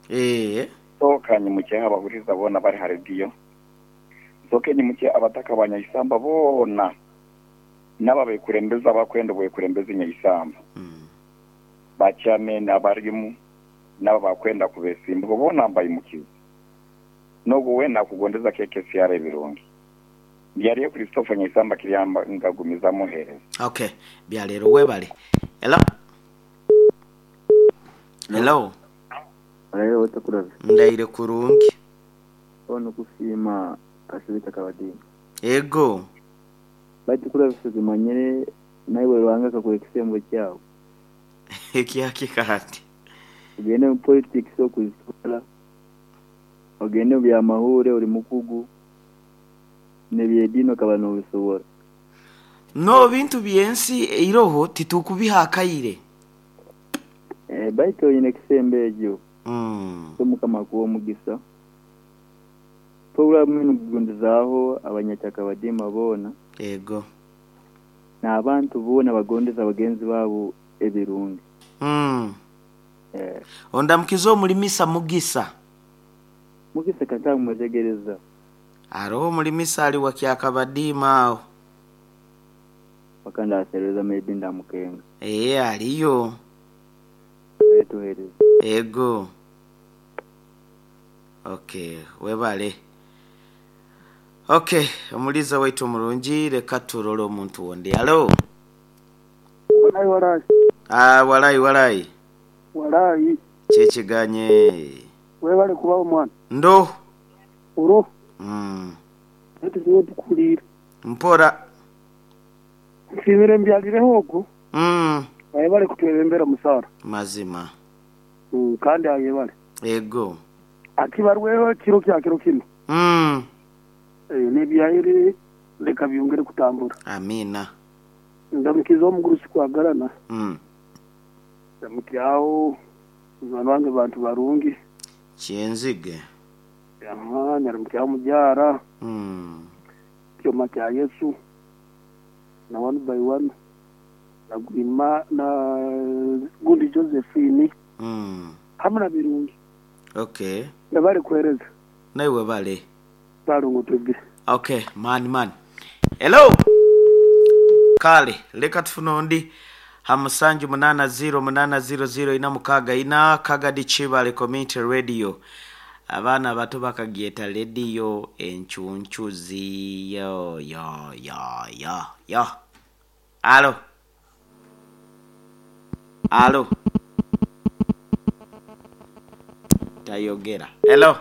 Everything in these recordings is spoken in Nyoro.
Eeh. Nsooka nyimukyeho abahuriza boona abari ha rediyo. Nsooke nyimukye abataka ba Nyaisamba boona n'abo abekurembeze abakwenda obwekurembeze Nyaisamba, ba chairman abarimu n'abo abakwenda kubesimbaho boona mbaimukize. N'ogwo weena akugondeza KKCR ebirungi. Byariyo Christopher Nyaisamba Kiryamba ngagumizamu ohereza. Ok byaleero webale. Hello Hello. Walayi otakurabe. Ndaire kurungi. Ono kusiima Kasibita Kabadini. Ego. Baitu kurabisa tumanyire naiwe Ruhanga akakuha ekisembo kyawe. Ekyaki kandi? Ogende mu politics okuzitwara, ogende mu byamahuure ori mukugu, n'ebyediini okaba nobisobora. No bintu byensi eiroho titukubiha akaire. Baitu oine ekisembo ekyo, so Mukama akuhe omugisa. Puroguramu enu kugondezaaho abanyakyakabadiima boona. Ego. N'abantu boona abagondeza bagenzi baabo ebirungi. Ondamukize omulimisa Mugisa. Mugisa katamwetegereza. Aroho omulimisa ali wa Kyakabadiima agho. Paka ndasereza maybe ndamukenga. Eeh aliyo. Kale tuhereze. Ego. Ok webale. Ok omuliiza waitu omulungi leka turole omuntu ondi. Hallo. Walai walai. Aah walai walai. Walai. Kyekiganye. Webale kubaho mwana. Ndo. Oro. Aye tuzibu tukuwuliire. Mpora. Nsiimire mbyalireho ogwo. Ayebale kutwebembera musaara. Mazima. Kandi ayebale. Ego. Akibarweho ekiro kya kiro kinu. N'ebyaire leka byongere kutambura. Amiina. Ndamukiza omugurusi Kwagarana. Ndamukyaho munywani wange Bantu Barungi. Kyenzige. Aha, ndaramukyaho Mujaara. Kyoma kya Yesu na One by One na Green na gundi Josephine hamu na Birungi. Ok. Webale kuhereza. Naiwe webale. Salongo Twegere. Ok man man. Hello! Kale leka tufune ondi ha musanju munana ziro munana ziro ziro ina mukaaga ina Kagadi Kibale Community Radio. Abaana abato bakagyeta lediyo encuncuzi yo yo yo yo yo. Alo! Alo! Tayogera. Hello!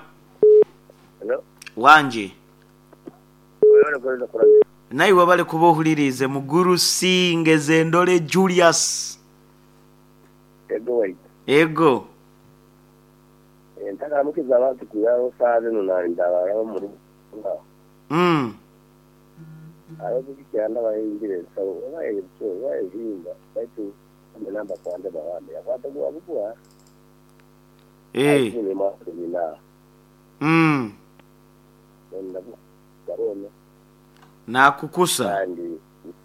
Hello. Wangi. Webale kuwereza Kurabira. Naiwe webale kuba ohuliriize Mugurusi Ngezendole Julius. Ego waitu. Ego. Ntakaramukiza abantu kwihaho saaha zinu nandaba omu rugo aho. Hariho obukikyanda bahingire ensaro oba ebyo oba ebihimba baitu namba kwande bawande yakwata gwa bugwa. Eh. Nakukusa. Kandi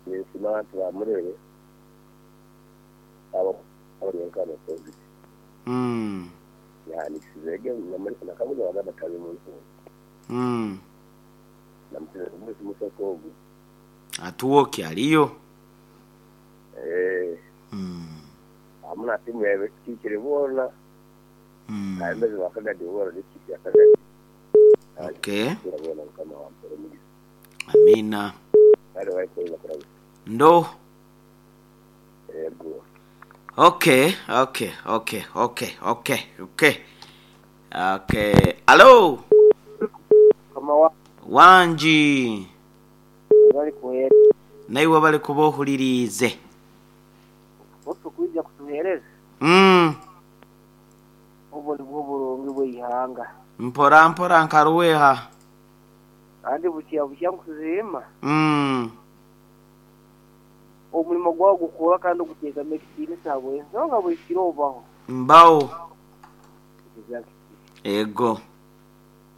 ninsima abantu ba Murere abo abari nka yahanikisize nakabuza bagamba tabi muntu. Namukiza musi musoko ogu. Atuwoki aliyo. Eh. Amuna timu yawe kikire bona. Ayembeze wakagadi bona district ya Kagadi. Okay. Amina. Ndo. Ego. Okay, okay, okay, okay, okay, okay. Okay. Alo. Kama Wangi. Webale kuhereza. Naiwe webale kuba ohuliriize. Otu kwija kutuhereza. Obwo nibwo burungi bw'eihanga. Mpora mpora nkaruweha. Kandi bukya bukya nkusiima. Omurimo gwawe gukura kandi oguteekamu ekitiinisa ahabw'ensonga buri kiro obaho. Mbaho. Exactly. Ego.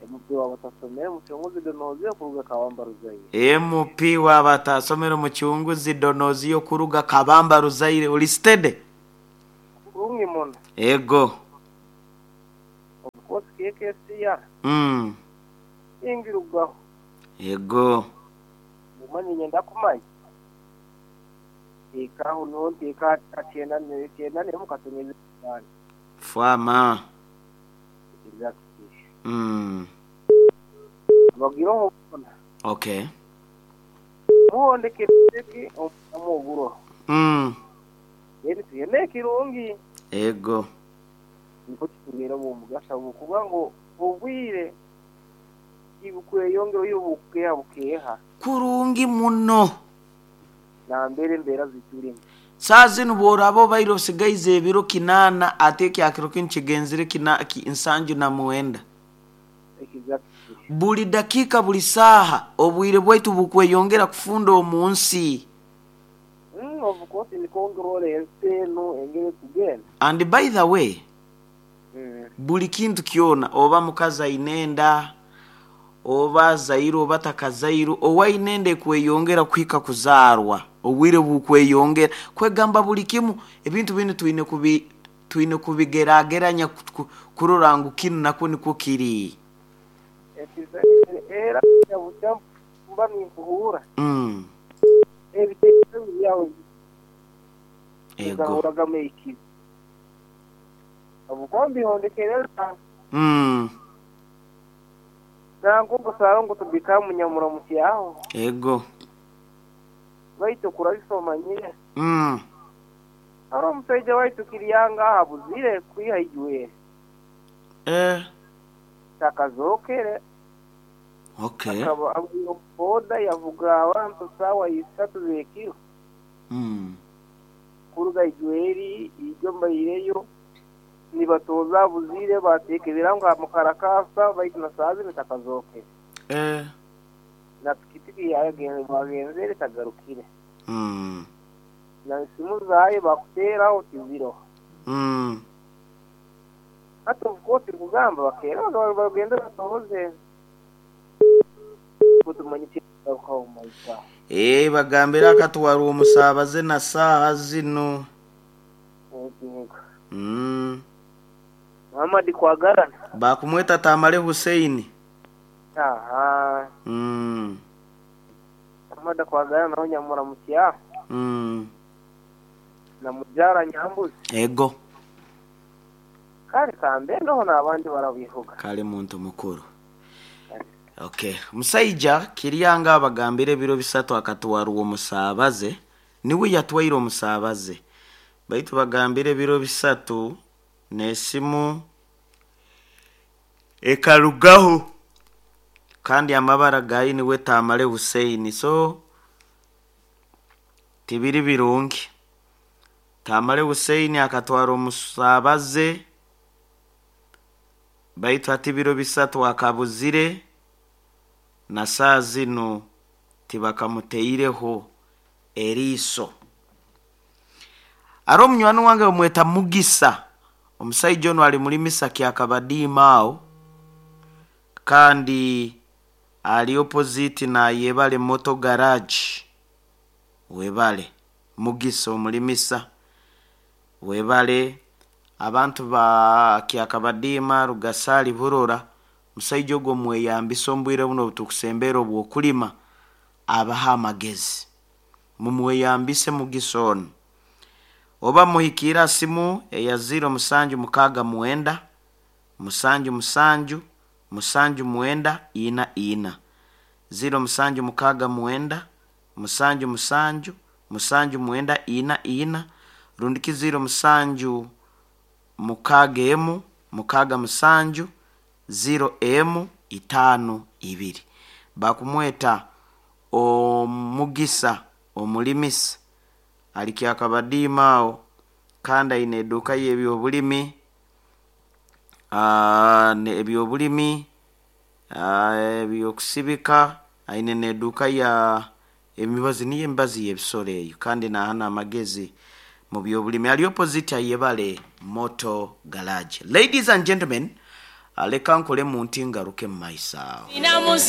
MP w'abatasomere Mucunguzi Donoziyo kuruga Kabamba Ruzaire. MP w'abatasomere Mucunguzi Donoziyo kuruga Kabamba Ruzaire. Ori steady? Kurungi muno. Ego. course KKCR. Tingirugaho. Ego. Mumanye nyenda kumanya. Nteekaho niho nteeka 91 katoneza 5. Fwama. Exactly. Abagiroho bona. Okay. Muhondeke ki omuguro. Eri tuyene kirungi. Ego. Niko kitubera mu mugasha bukuba ngo obwire ibukweyongera bukeha bukeha. Kurungi muno. Na mbere mbera ziturimo. Saa zinu bworaba obaire osigaize ebiro 8 ate ekyakiro kinu kigenzire 79. Exactly. Buli dakika buli saaha obwire bwaitu bukweyongera kufunda omu nsi. Of course nikongera ensi eno engeri kugenda. And by the way, buli kintu kyona oba mukazi aine enda oba azaire oba takazaire owaine enda ekweyongera kuhika kuzaarwa obwire bukweyongera kwegamba buli kimu ebintu binu twine kubigerageranya kurora ngu kinu nakwo nikwo kiri. Era mba ninkuhura. Ebitekerezo byawe Ego. bigahuragamu ekibi. Obukombi hondekereza. Nango busaro ngo tubika munyamuramusi aho. Ego. Baitu kurabisomanyire. Ari omushaija waitu kiryanga habuzire kwiha ijwe. Takazokere. Okay. Akaba abuyo boda yavuga abantu sawa 3 zekiro. Kuruga ijweri ijo mbaireyo nibatoza buzire batekebera ngo mukarakasa baitu na sazi nitakazokere. Na pikipiki yagenze bagenzere tagarukire. Na simu zaye bakutera otiziro. Hata of course kugamba bakera bagenda batoze. Kutumanyike kwa maisha. Bagambira akatwara omusabaze na saha zino. Muhammad kwagarana. Bakumweta Tamale Hussein. Aha. Muhammad kwagarana naho nyamura mutya. Na mujara nyambuzi. Ego. Kale kambe ndoho n'abandi barabivuga. Kale muntu mukuru. Okay. Musaija kiryanga abagambire ebiro 3 akatwara omusabaze niwe yatwaire omusabaze. Baitu bagambire ebiro 3 n'esimu ekarugaho. Kandi amabara gayi niwe Tamale Hussein. So tibiri birungi. Tamale Hussein akatwara omusabaze baitu ati biro 3 akabuzire na saa zino tibakamuteireho eriiso. Ari omunywani wange bamweta Mugisa. Omusaija ono ali muri Misaki akabadiima aho kandi ali opposite na Yebale Moto Garage. Webale Mugisa omulimisa. Webale abantu ba Kyakabadiima Rugasali Burora. Musaija ogwo mweyambisa ombwire buno obutukusembera obw'okulima abaha amagezi. Mumweyambise Mugisa ono. Oba muhikira simu eya 0769 77 79 44 0769 77 79 44 rundiki 07 6 6 7 0 M 5 2. Bakumweta Omugisa omulimisa ali Kyakabadiima aho kandi aine eduuka y'ebyobulimi ebyobulimi ebyokusibika aine n'eduuka ya emibazi niyo emibazi y'ebisoro eyo kandi nahana amagezi mu byobulimi ali opposite Ayebale Moto Garage. Ladies and gentlemen, leka nkole mu nti ngaruke mu maiso awo.